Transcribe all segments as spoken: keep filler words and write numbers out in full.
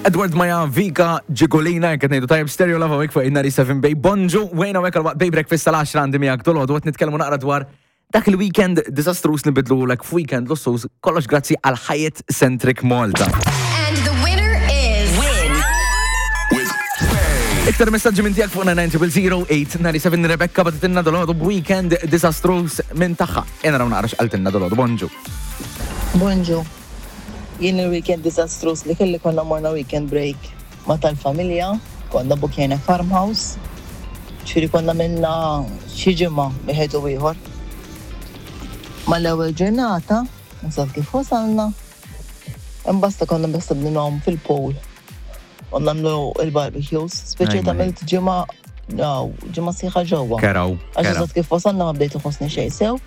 Edward Maja Vika Ġigolina, qed ngħidu tajjeb, Stereo Love hawnhekk fuq in-ninety-seven Bay. Bonġu, wejna hawnhekk għal Bay Breakfast tal-għaxra għandi miegħek dolodu qed nitkellmu naqra dwar dak il-weekend disastrus li bidlulek f'weekend lussus, kollox grazzi għal Hyatt Centric Malta. And the winner is. Win. With Bay. Iktar messaġġi minn tiegħek fuq nine zero zero eight nine seven. Rebecca bagħtitilna dolodu b'weekend disastrus minn tagħha. Ejja naraw naqra x'qaltilna dolodu. Bonġu. Bonġu. Jien il-weekend disastrus li kelli, konna morna weekend break ma tal-familja, konna bukjena farmhouse, ċiri konna minna xi ġimgħa wieħed u ieħor. Mal-ewwel ġurnata, nasab kif wasalna, imbasta konna basta bninhom fil-pool. U nagħmlu il-barbecues, speċi Ajma, għamilt ġimgħa, no, ġimgħa sħiħa ġewwa. Keraw. Għax Keraw. eżatt kif wasalna ma bdejt iħossni xejn sew.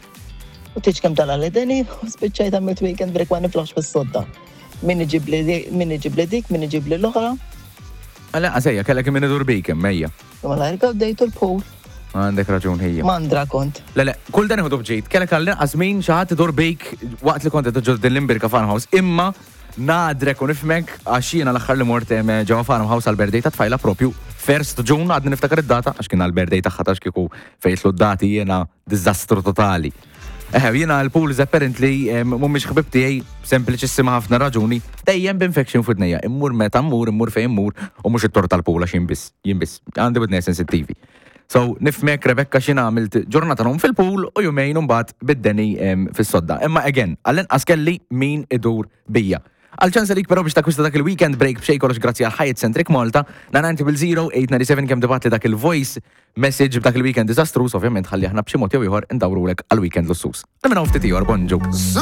U tiġ kemm tala l-deni, u spiċċajt għamilt weekend break ma niflaħx fis-sodda. Min iġib li di- min iġib li dik, min iġib li l-oħra. Għala, għasejja, kellek min idur bik, mejja. Imma l-ħarka bdejtu l-pool. Għandek raġun ħija. Mandra kont. Le, le, kull dan iħodu bġejt, kellek għall-inqas min xi ħadd idur bik waqt li kont qed din l-imbirka farmhouse, imma nadrek u nifmek għax jiena l-aħħar li mort em, ġewwa farmhouse għal-birthday ta' tfajla propju first June, għadni niftakar id-data għax kien għal-birthday tagħha, tax kieku fejtlu d-dati jiena diżastru totali. Eħe, jiena l-pools apparently em, mhumiex ħbib tiegħi, sempliċissima ħafna raġuni, dejjem b'infection f'widnejja. Immur meta mmur, immur fejn immur u mhux it-tort tal-pool għax jien biss, jien biss, għandi widnejja sensittivi. So, nifmek Rebecca, xina għamilt ġurnata nom fil-pool u jumejn mbagħad bid-deni em, fis-sodda. Imma again, għall-inqas kelli min idur bija. Għal-ċans għalik però biex takwista dak il-weekend break b'xejn, kollox grazzi għal Hyatt Centric Malta, na bil-zero eight nine seven kemm tibgħatli dak il-voice message b'dak il-weekend disastrus, ovvjament ħalli aħna b'xi mod jew ieħor indawrulek għal-weekend lussus. Nemmen ftit ieħor, bonġu. Some